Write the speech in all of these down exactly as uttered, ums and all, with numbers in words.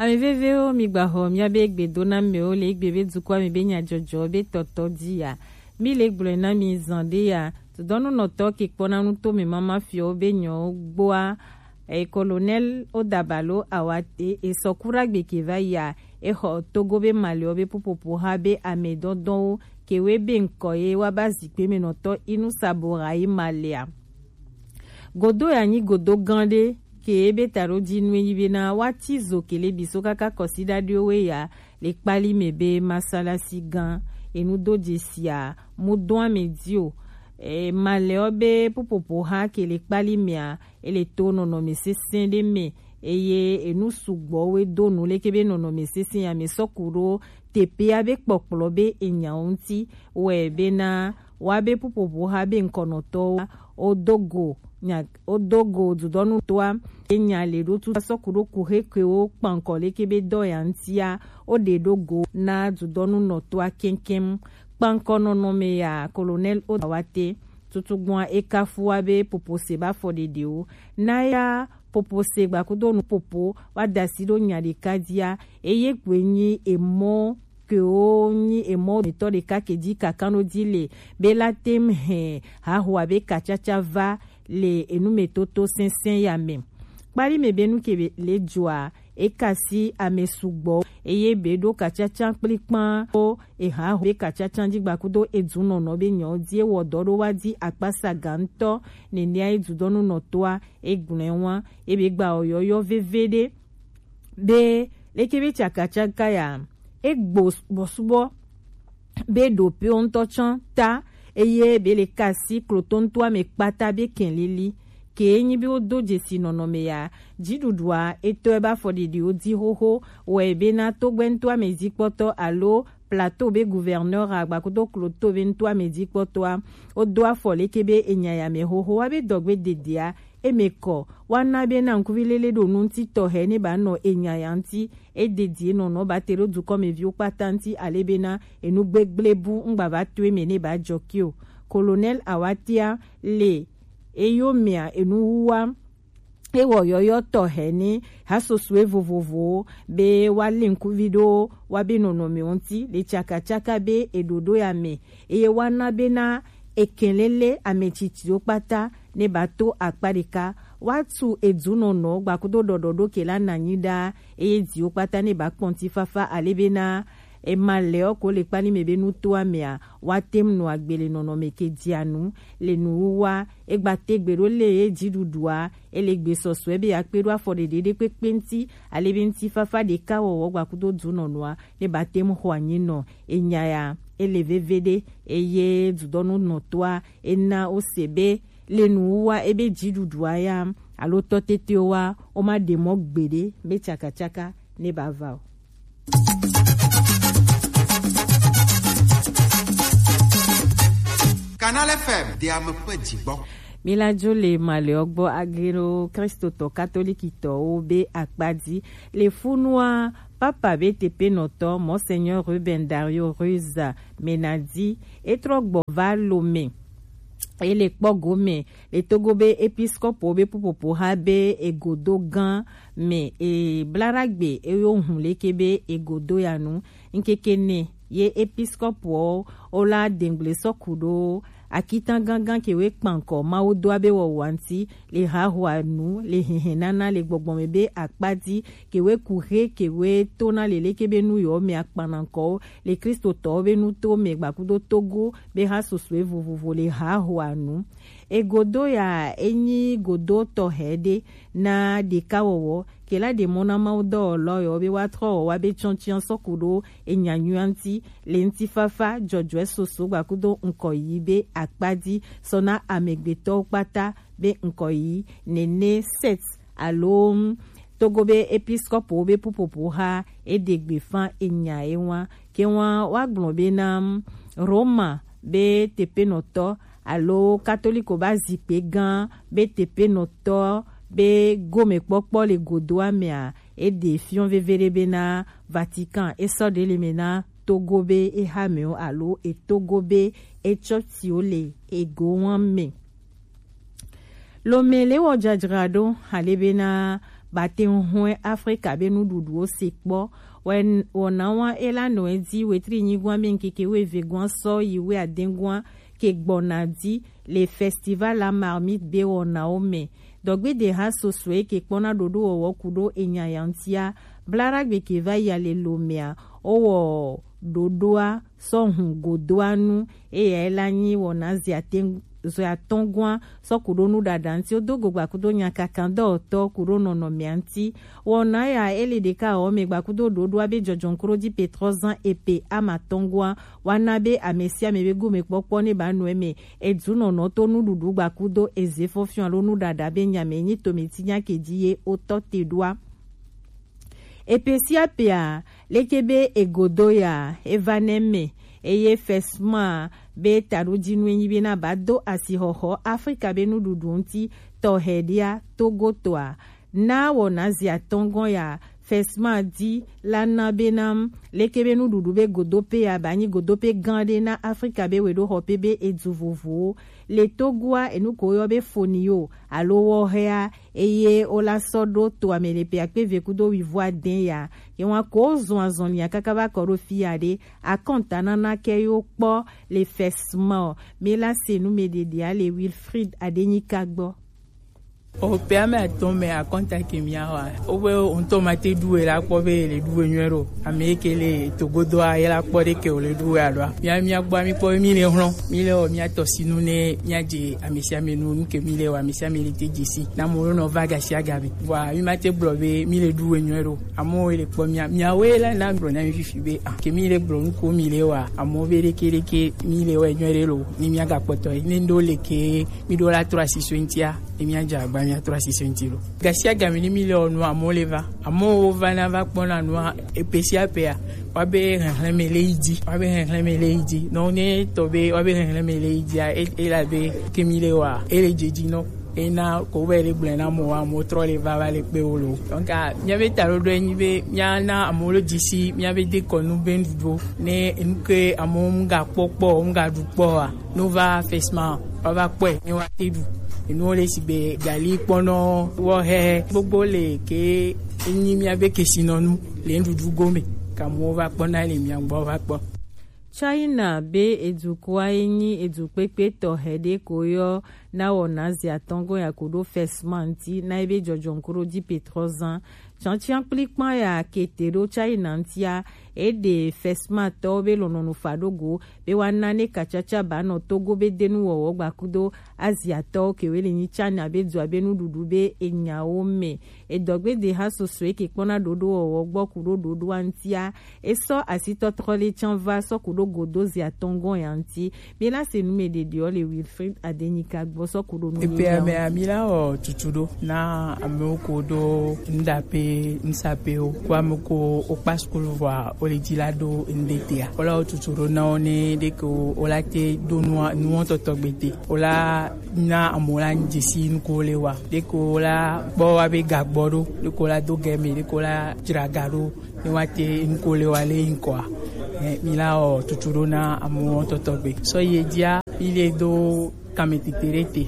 Ame vevewo, mi gbaxɔ miabe gbedonamewo le egbe be dukɔa me be nyajɔjɔ be tɔtɔ ji ya. Mi le gblɔe na mi zan ɖe ya. Dodɔnunɔtɔ ke kpɔna nu to me mama fiɔwo be nyɔwo gboa. E Colonel Odabalo Awate, e sɔ kura gbe ke va ya. E xɔ Togo be malewo be pupopo ha be ame dɔdɔwo ke we be ŋkɔ ye wa ba zikpe me nɔtɔ inu sabo ha yi malea. Godo ya nyi godo gã ɖe ke ebe taɖo ji nu enyi bena woati zo kele biso kaka kɔsiɖaɖiwo we ya le kpali me be masalasi gã enudo jesia mu do ame di o. E, malɛɔ be pupopo ha ke le kpali mea, ele to nɔnɔme sesẽ ɖe me, eye enu sugbɔ we do nu leke be nɔnɔme sesẽ ya me sɔ ku ɖo teƒea be kpɔkplɔ be enyawo ŋuti wɛ bena woabe pupopo ha be ŋkɔnɔtɔwo wodo go nya wodo go dudɔnu toa enya le ɖo tutu sɔ ku ɖo ku he kewo kpankɔ leke be dɔ ya ŋutia woɖe ɖo go na dudɔnu nɔtoa kɛnkɛn. Kpankɔ nɔnɔme ya Colonel Odawate tutugbɔa e kafua be popo se ba fɔ ɖeɖewo na ya popo se gbakudo nu popo wa dasi ɖo nya ɖeka dia eye gbe nyi emɔ kewo nyi emɔ mitɔ ɖeka ke dzi kakanɔ dzi le be la tem hɛn hahoa be katsatsa va le enumetoto sɛnsɛn ya me. Kpali me be nu ke le dzoa e kasi ame sugbɔ eye be ɖo katsatsa kplikpan ko ehaho be katsatsa dzi gbakudo edunɔnɔ be nyɔ dzi ewɔ dɔ ɖo wa dzi akpasa gantɔ nenea edudɔnu nɔtoa egblɔe wa ebe gba oyɔyɔ veve ɖe be leke be tsakatsaka ya egbo bɔsubɔ be ɖopewo ŋutɔ tsã ta eye be le kasi kloto ŋutɔa me kpata be kɛlili ke nyi be wodo dzesi nɔnɔme ya dziɖuɖua etɔe be afɔɖiɖiwo di xoxo wɔe bena togbɛ ŋutɔa me dzikpɔtɔ alo plateau be gouverneur agbakudo kloto be ŋutɔa me dzikpɔtɔa wodo afɔ leke be enya ya me xoxo wa be dɔgbe dedea eme kɔ woana bena ŋkuvi lele ɖo nu ŋuti tɔxɛ ne ba nɔ enya ya ŋuti. Ededie nɔnɔ ba te ɖo dukɔmeviwo kpata ŋuti ale bena enu gbegble bu ŋgba va to eme ne ba jɔ ke o. Colonel Awatia le eyomea enu wuwa ewɔ yɔyɔ tɔxɛ ne hasosoe vovovowo be woalé ŋkuvi ɖo woabe nɔnɔmewo ŋuti le tsakatsaka be eɖoɖo ya me eye woana bena ekɛlele ame tsitsiwo kpata ne ba to akpa ɖeka woatu edunɔnɔ gbakudo ɖɔɖɔɖo ke la nanyi ɖaa eye diwo kpata ne ba kpɔ ŋutifafa ale bena ema lɛɔ ko le kpali me be nutoa mea woate ŋu nɔ agbe le nɔnɔme ke dzia nu le nuwuwa egba te gbe ɖo le ye dziɖuɖua ele gbe sɔsɔe be yeakpe ɖo afɔ ɖeɖe ɖe kpekpe ŋuti ale be ŋutifafa ɖeka wɔwɔ gbakudo dunɔnɔa ne ba te ŋu xɔ anyi nɔ enya ya ele veve ɖe eye dudɔnu nɔtoa ena wose be le nuwuwa ebe dziɖuɖua ya alo tɔtetewo wa woma ɖe mɔ gbeɖe be tsakatsaka ne ba va o. Canal F M de ame ƒe dzigbɔ. Míladzo le malɛɔ gbɔ ageno kristotɔ katolikitɔwo be akpa dzi le funua papa be tepenɔtɔ Monseigneur Ruben Dario Ruiz Menadi etrɔ gbɔ va Lome. Ele kpɔ gome le Togo be episkopo be pupopo ha be egodo gã me e blaɖagbe eyo hun leke be egodo ya nu ŋkeke ne ye episkopo o la dengble sɔku ɖo akitan gangan ke we kpankɔ mawu do abe wɔwɔ ŋuti le hahoa nu le hehe nana le gbɔgbɔ me be akpa dzi ke we ku he ke we to na le leke be nu yɔ me akpanankɔwo le kristotɔwo be nuto me gbakudo Togo be ha sosoe vovovo le hahoa nu. Egodo ya enyi godo tɔxɛ ɖe na ɖekawɔwɔ ke la ɖe mɔ na mawudɔwɔlɔ yɔ be woatrɔ wɔ wa be tsɔntsian sɔku ɖo enya nyuia ŋuti le ŋutifafa dzɔdzɔe soso gbakudo ŋkɔ yi be akpa dzi sɔ na amegbetɔwo kpata be ŋkɔ yi nene set alo Togo be episkopo be pupopo ha eɖe gbe fa enya ewa ke wa wa gblɔ be na Roma be tepenɔtɔ alo katoliko ba zikpe gã be tepenɔtɔ be gomekpɔkpɔ le godoa mea eɖe fiɔ veve ɖe be na Vatican esɔ ɖe le me na Togo be ehamewo alo etogo be etsɔtiwo le egowa me. Lome le wɔ dzadzraɖo ale bena ba te hwɛ Afrika be nuɖuɖuwo se kpɔ. Wɛ wɔna wa e la nɔ e ji wetri nyigwan be ŋkeke weve gwan sɔ yi wɛ aden gwan ke gbɔna di le Festival la Marmite be wɔnawo mɛ. Dɔgbede ha soso e ke kpɔna ɖoɖo wɔwɔ kuɖo enya yantia bla ɖagbe ke va yi ale lo mɛa, o wɔ ɖoɖoa sɔ hun godoa nu. Eya e la nyi wɔna zia te zɔe atɔngɔa sɔ kuɖo nuɖaɖa ŋti. Wodo go gba kudo nyakakan dɔwɔtɔ kuɖo nɔnɔmea ŋti. Wɔna ya e le ɖeka wɔ mɛ gba kudo ɖoɖoa be jɔjɔn kuɖo di petrɔ zan epe amatɔngɔa wa na be amesiame be gomekpɔkpɔ ne ba nɔ eme. Edu nɔnɔ to nuɖuɖu gba kudo eze fɔfiɔ alo nuɖaɖa be nyame nyi tometi nya ke di ye wotɔ te ɖoa. Epe sia pea, leke be egodo ya eva nɛ me, eye fesma be taɖodinu enyi be na ba do asixɔxɔ Afrika be nuɖuɖu ŋti tɔxɛ ɖia Togo tɔa. Na wɔna zi atɔngɔn ya fesma di la na be nam leke be nuɖuɖu be godope ya ba nyi godope gan ɖe na Afrika be weɖoxɔpe be edu vovowo le Togoa enu ko woyɔ be fonio alo wɔxɛa, eye wo la sɔ ɖo to ame le pe akpe eve kudo wivo adɛn ya. Ye wan ko zɔn azɔn lia kaka va kɔ ɖo fi ya ɖe. Akɔnta nana kɛ yo kpɔ le fesma o. Mi la se nu me ɖeɖea le Wilfried Adenyika gbɔ. O pe ame atɔn me akɔnta ke mia wa. O be o ŋutɔ ma te ɖu e la kpɔ be le ɖu e nyuɛ ɖo. Ame ke le togodo a ye la kpɔ ɖe ke o le ɖu e alo a. Mia mia gbɔ mi kpɔ mi le hlɔn. Mi le o mia tɔ sinu ne mia dze ame sia ame nu nu ke mi le wa ame sia ame le te dze si. Na mo nɔ va gasi aga mi. Wa mi ma te gblɔ be mi le ɖu e nyuɛ ɖo. Amewo le kpɔ mia, miawoe la na gblɔ na mi fifi be, ah, ke mi le gblɔ nu ko mi le wa, amewo be ɖeke ɖeke mi le wa nyuie ɖe lo, ni mia ga kpɔtɔ yi, ne ndo le ke mi ɖo la trɔ asi so ŋtia, ne mia dze agba mia trɔ asi so ŋti lo. Gasi agami ni mi le ɔ nu amewo le va, amewo va na va kpɔ na nua, epe sia pea, wa be hehlẽ me le yi dzi, wa be hehlẽ me le yi dzi, nɔ ne tɔ be wa be hehlẽ me le yi dzia, e, e la be ke mi le wa, e le dze dzi nɔ. Ena ko be le gblẽ na mo wa mo trɔ le va va le kpe wo lo. Donc, ah, mia be ta ɖoɖo enyi be mia na amewo lo dzi si mia be dekɔnu be nuɖuɖo. Ne enu ke amewo ŋga kpɔ kpɔ, ŋga ɖu kpɔ wa, no va fesma, wa va kpɔe, ne wa te ɖu. Enuwo le si be gali kpɔnɔ, wɔxɛ, gbogbo le ke enyi mia be kesinɔnu le nuɖuɖu gome. Ka amewo va kpɔ na le mia gbɔ va kpɔ. China be edukɔa ye nyi edu kpekpe tɔxɛ ɖe ko yɔ na wɔna zi atɔngɔn ya ko ɖo fesma ŋti na ebe jɔjɔn ko ɖo di petrɔ zan. Tiantian kplikpan ya kete ɖo China ŋtia, eɖe fesma tɔwo be lɔnɔnu fa ɖo go be wa na ne kacaca ba nɔ Togo be denu wɔwɔ gba kudo Aziatɔwo kewe le nyi China be dua be nuɖuɖu be enyawo me. Edɔgbedeha soso eke kpɔna ɖoɖo wɔwɔ gbɔ kuɖo ɖoɖoa ŋtia, esɔ asitɔtrɔ le can va sɔ kuɖo godo zi atɔngɔn ya ŋti. Mi la se nu me ɖeɖeɔ le Wilfried Adenyika gbɔ sɔ kuɖo nu. Epe ame ami la wɔ tutu ɖo na amewo ko ɖo ŋɖape ŋsapewo ko ame ko wo kpa sukulu vɔa wo le dzi la ɖo ŋɖe tea. Wo la wɔ tutu ɖo na wo ne ɖe ko wo la te ɖo nua nuwɔtɔtɔ gbete. Wo la na amewo la dzesi nuko le wa. Ɖeko la kpɔ wa be gagbɔ ɖo, ɖeko la do gɛme, ɖeko la dzra ga ɖo, ne wa te nuko le wa le ŋkɔa. Eh, mi la wɔ tutu ɖo na amewo tɔtɔ gbe. Sɔ yi edzia, mi le do kame tete ɖe te.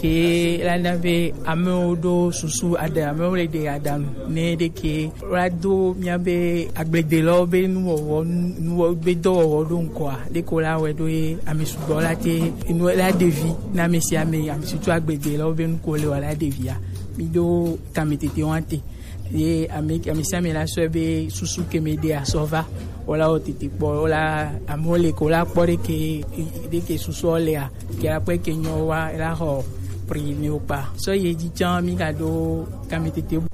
Ke la na be amewo ɖo susu aɖe, amewo le ɖe aɖaŋu ne ɖe ke la do mia be agbledelɔwo be nuwɔwɔ, nuwɔ be dɔwɔwɔ ɖo ŋkɔa, ɖeko la wɛ ɖo ye ame sugbɔ la te enu la ɖevi na ame sia ame, ame sutu agbede la wo be nuko le wa la ɖevia. Mi ɖo kame tete wa te. Ye ame, ame sia ame la sɔe be susu ke me ɖe asɔ va. Wo la wo tete kpɔ, wo la amewo le ko la kpɔ ɖe ke, ɖe ke susu lea. Ke akpɛ ke nyɔ wa la xɔ pri ne wo kpa. Sɔ ye dzi tsã mi ga ɖo kame tete bu.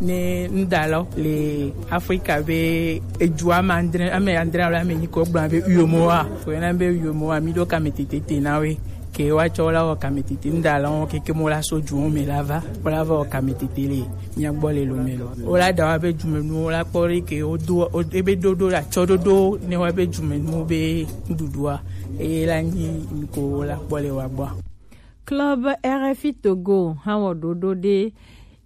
Ne ŋda lɔ le Afrika be edu ame andre, ame andre alo ame nyi ko gblɔ be uyomo wa. Ko na be uyomo wa mi ɖo kame tete te na we. Ke wa tsɔ la wɔ kame tete ŋda lɔ keke mo la so du me la va. Wo la va wɔ kame tete le mia gbɔ le lo me lo. Wo la da wa be dumenu wo la kpɔ ɖe ke wo do wo ebe ɖoɖo la tsɔ ɖoɖo ne wa be dumenu be nuɖuɖua. Eye la nyi nuko wo la kpɔ le wa gbɔ. Club R F I Togo hã wɔ ɖoɖo ɖe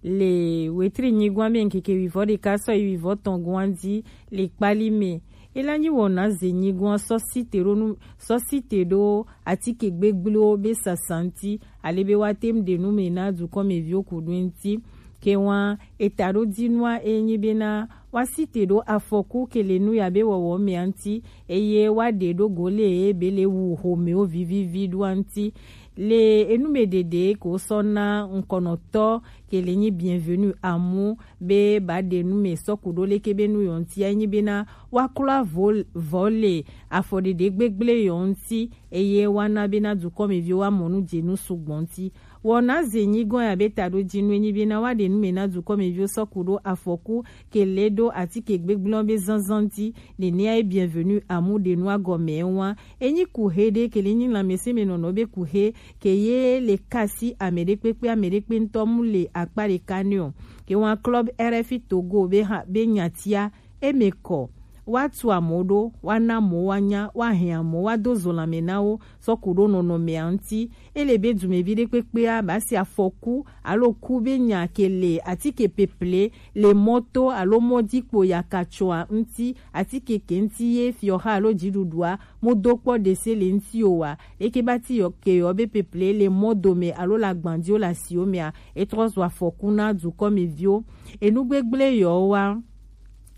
le wetri nyigwan be ŋkeke wivɔ ɖeka sɔ yi wivɔ tɔn gwan dzi le kpali me. Ela nyi wɔna ze nyigwan sɔ site ɖo nu, sɔ site ɖo atike gbegbliwo be sasa ŋti, ale be wa tem ɖe nu me na dukɔmeviwo ku ɖo ŋti. Ke wan eta ɖo di nua e nyi bena wa si te ɖo afɔku ke le nu ya be wɔwɔ mɛ anti, eye wa ɖe ɖo go le e be le wu homewo vivivi ɖo anti. Le enu me ɖeɖe ko sɔ na ŋkɔnɔtɔ ke le nyi Bienvenu Amu be ba ɖe nu me sɔku ɖo leke be nu yɔ nti a nyi bena wa klo avɔ le afɔ ɖeɖe gbegble yɔ nti, eye wa na bena dukɔmeviwo wa mɔ nu je nu sugbɔ nti. Wɔna ze nyigɔn ya be ta ɖo dzi nu enyi bena wa ɖe nu me na dukɔmeviwo sɔku ɖo afɔku ke le ɖo atike gbegblẽ be zanzan dzi. Nenea ye Bienvenu Amu ɖe nu agɔme wa. Enyi ku he ɖe ke le nyi lãmesẽ me nɔnɔ be ku he ke ye le kasi ame ɖe kpekpe ame ɖe kpe ŋutɔ mu le akpa ɖeka ne o. Ke wa club R F I Togo be ha be nyatia eme kɔ. Wa tu amo ɖo, wa na amo wa nya, wa hɛn amo wa do zo lãme na wo sɔku ɖo nɔnɔme a ŋti. Ele be dumevi ɖe kpekpea ba si afɔku alo ku be nya ke le atike peple le mɔto alo mɔdi kpo yakatsɔa ŋti, atike ke ŋti ye fiɔha alo dziɖuɖua mo do kpɔ ɖese le ŋti o wa. Leke ba ti yɔ ke yɔ be peple le mɔ dome alo le agban dzi o le asiwo mea, e trɔ zu afɔku na dukɔmeviwo. Enu gbegble yɔ wa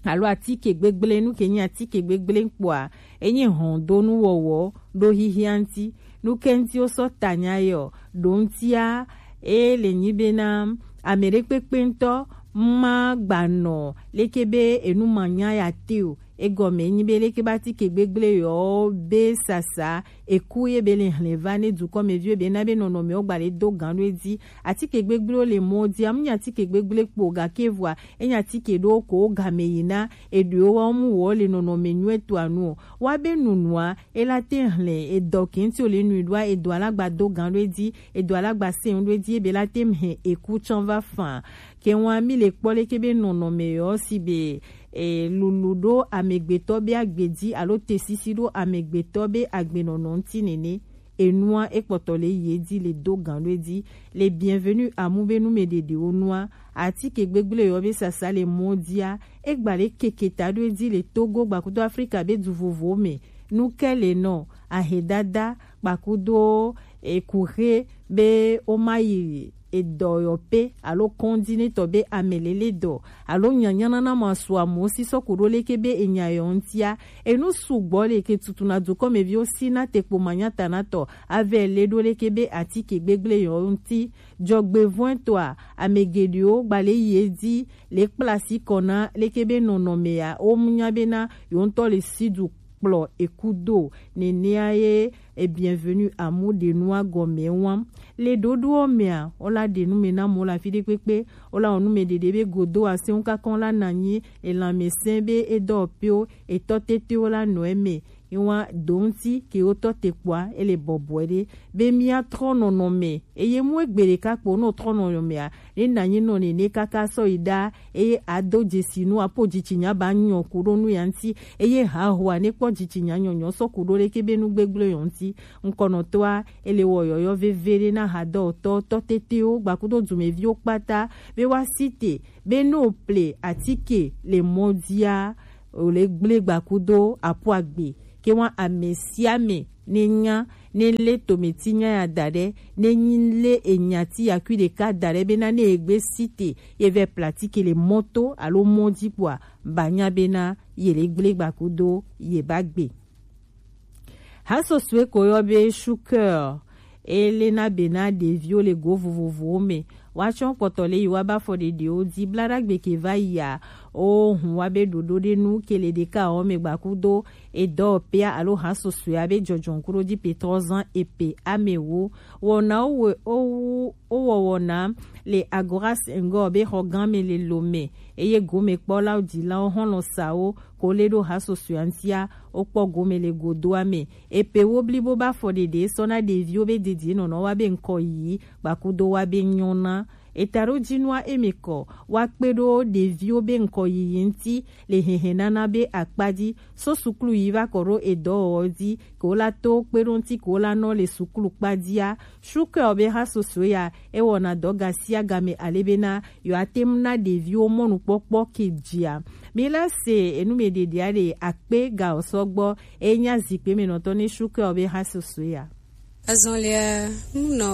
alo atike gbegble, nu ke nyi atike gbegble kpoa, enyi hɔndonu wɔwɔ ɖo hihia ŋti. Nu ke ŋti wo sɔ tanya yɔ ɖo ŋtia, e le nyi bena ame ɖe kpekpe ŋutɔ ma gba nɔ leke be enu ma nya ya te o. Egɔme nyi be leke be atike gbegble yɔ be sasa eku ye be le hlɛva ne dukɔmeviwo be na be nɔnɔmewo gba le do gan ɖo edzi. Atike gbegble le mɔ dzi, amu nya atike gbegble kpo gake vɔa enya atike ɖo ko game yi na eɖewo wa mu wɔ le nɔnɔme nyuie to anu o. Wa be nunua ela te hlɛ edɔ kenti o le nui ɖoa edɔ alagba do gan ɖo edzi, edɔ alagba se ɖo edzi ebe la te hɛn eku tsɔn va fan. Ke wa mi le kpɔ leke be nɔnɔme yɔ si be e lulu ɖo amegbetɔ be agbe dzi alo te sisi ɖo amegbetɔ be agbenɔnɔ ŋti nene. Enua e kpɔtɔ le yi edzi le do gan ɖo edzi. Le Bienvenu Amu be nu me ɖeɖewo nua, atike gbegble yɔ be sasa le mɔ dzia, e gba le keke ta ɖo edzi le Togo gbakudo Afrika be du vovowo me. Nu ke le nɔ, ahedada gbakudo ekuhe be wo ma yi edɔyɔƒe alo kɔndinetɔ be amelele dɔ alo nyanyanana ma su amewo si sɔ ku ɖo leke be enya yɔ ŋtia. Enu sugbɔ le ke tutu na dukɔmeviwo si na te kpo manyatanatɔ ave le ɖo leke be atike gbegble yɔ ŋti. Dzɔgbevɔ̃etɔa, ame geɖewo gba le yi edzi le kpla asi kɔ na leke be nɔnɔmea wo mu nya bena yewo ŋutɔ le si du kplɔ eku do. Nenea ye e Bienvenu Amu ɖe nua gɔme wam. Le ɖoɖoɔ mea, wola ɖe nu me na mo le afi ɖe kpekpe, wola wɔ nu me ɖeɖe be godo aseŋu kakɔ la na nyi elanmesẽ be edɔ pewo etɔ tetewo la nɔ eme. Ewa do ŋuti ke wotɔ te kpɔa, ele bɔbɔe ɖe be mía trɔ nɔnɔme eye mu egbe ɖeka kpo nɔ trɔ nɔnɔmea, ne nanyi nɔ nene kaka sɔ yi ɖa eye ado dzesi nu apo dzitsinya ba nyɔ ku ɖo nu ya ŋuti eye hahoa ne kpɔ dzitsinya nyɔnyɔ sɔ ku ɖo ɖeke be nu gbegblẽ yɔ ŋuti. Ŋkɔnɔtɔa ele wɔ yɔyɔ veve ɖe na hadɔtɔ tɔ tetewo gbakudo dumeviwo kpata be woasi te be ne wople atike le mɔ dzia, wòle gblẽ gbakudo apo agbe. Ke wa ame sia ame ne nya ne lé tometi nya ya da ɖe, ne nyi lé enyati yakui ɖeka da ɖe bena ne egbe si te ye vɛ platike le mɔto alo mɔ dzi kpoa, ba nya bena ye le gblẽ gbakudo ye ba gbe. Hasosue ko yɔ be Shuker, ele na be na ɖeviwo le go vovovowo me. Woatsɔ kpɔtɔ le yi wa ba fɔ ɖeɖewo di bla ɖagbe ke va yia. O hun wa be ɖoɖo ɖe nu ke le ɖeka wo me gbakudo edɔ pea alo hasosue a be jɔjɔn kuɖo di pe trɔ zan epe ame wo. Wɔna wo we- o wu o wɔ wɔna le Agora Senghor be xɔ gã me le Lomé. Eye gomekpɔlawo, dzilawo, xɔlɔsawo ko le ɖo hasosoea ŋutia, wokpɔ gome le godoa me. Epe wo blibo ba fɔ ɖeɖe sɔ na ɖeviwo be dedienɔnɔ wa be ŋkɔ yiyi, gbakudo wa be nyɔna. Eta ɖo jinua eme kɔ, wa kpe ɖo ɖeviwo be ŋkɔ yiyi ŋuti le hehenana be akpa dzi, so suklu yi va kɔ ɖo edɔwɔwɔ dzi, ke wo la to kpe ɖo ŋuti ke wo la nɔ le suklu kpa dzia. Sukɛ ɔ be hasosoe ya, e wɔna dɔ gasiagame ale bena yewoate ŋu na ɖeviwo mɔnukpɔkpɔ ke dzia. Mi la se enu me ɖeɖea ɖe akpe ga ɔ sɔgbɔ, e nya zikpe me nɔtɔ ne sukɛ ɔ be hasosoe ya. Azɔlia, mu nɔ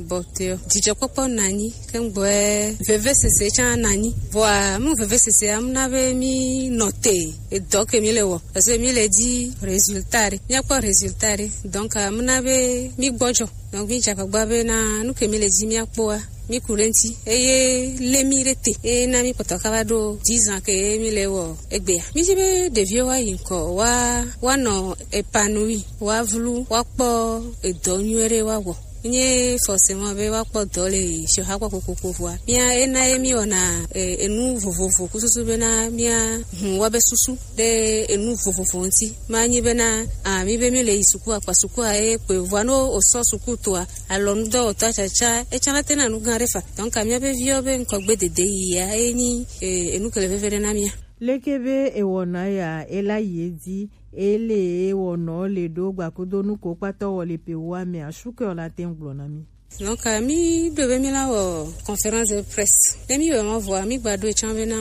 bɔtɔ, dzidzɔkpɔkpɔ nanyi, kɛngbɔɛ vevesese tsã nanyi. Vɔa, mu vevesesea, mu na be mi nɔ te, edɔ ke mi le wɔ, parce que mi le di résultat ɖe, mi akpɔ résultat ɖe. Donc, mu na be mi gbɔdzɔ. Donc, mi dze agbagba be na nu ke mi le di mi akpɔa, mi ku ɖe ŋuti. Eye le mi ɖe te, eye na mi kpɔtɔ kaba ɖo dix ans ke mi le wɔ egbea. Mi dzi be ɖeviwo wa yi ŋkɔ, wa, wa nɔ épanoui, wa vlu, wa kpɔ edɔ nyuie ɖe wa wɔ. Nye forcément be wa kpɔ dɔ le fiɔha kpɔ kokoko vɔa. Mia ena ye mi wɔna, e, enu vovovo ku susu be na mia hu wa be susu ɖe enu vovovo ŋuti. Ma nyi be na, a, mi be mi le yi suku akpa suku a ye kpe vɔa no o sɔ suku toa, alɔ nu dɔ o ta tsatsa, e tsã la te na nu gã ɖe fa. Donc, a mia be viɔ be ŋkɔ gbe dede yi ya, e nyi, e, enu ke le veve ɖe na mia. Leke be ewɔna ya, ela yi edzi, ele ewɔnɔ le ɖo gbakudo nu ko kpatɔ wɔ le pe wa me asu ke o la te ŋgblɔ na mi. Donc, mi ɖo be mi la wɔ conférence de presse. Ne mi wɔ ma vɔa, mi gba ɖo etsã be na,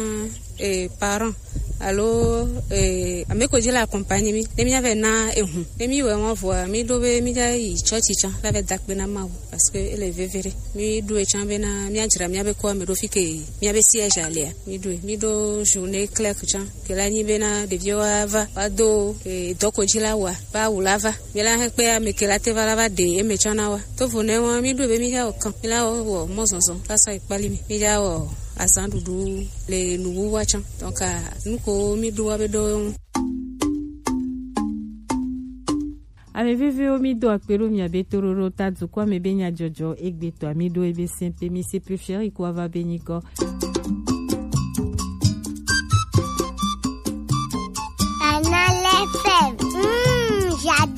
eh, parent alo, eh, ame ko dzi la accompagner mi. Ne mi ave na ehu. Ne mi wɔ ma vɔa, mi ɖo be mi dza yi church tsã la ve dakpe na Mawu. Parce que ele veve ɖe. Mi ɖo etsã be na mi adzra mi abe ko ame ɖo fi ke mi abe siège alea. Mi ɖo, mi ɖo journée clerc tsã. Ke la nyi be na ɖeviwo wa va, wa do, eh, dɔko dzi la wa, ba wu la va. Mi la he kpe ame ke la te va la va ɖe eme tsã na wa. To vo ne wa, mi ɖo be mi dza wɔ kan. Mi la wɔ, wɔ mɔzɔzɔ, la sɔ ekpali mi. Mi dza wɔ azan ɖuɖu le nuwuwa tsã. Donc, a, nu ko mi ɖo wa be ɖo. Ame vevewo, mi do akpe ɖo mia be toɖoɖo ta dukɔa me be nyadzɔdzɔ egbetɔa mi ɖo ebe sɛn pe mi se préféré ko ava be nyikɔ. Canal F M. Mm, j'adore.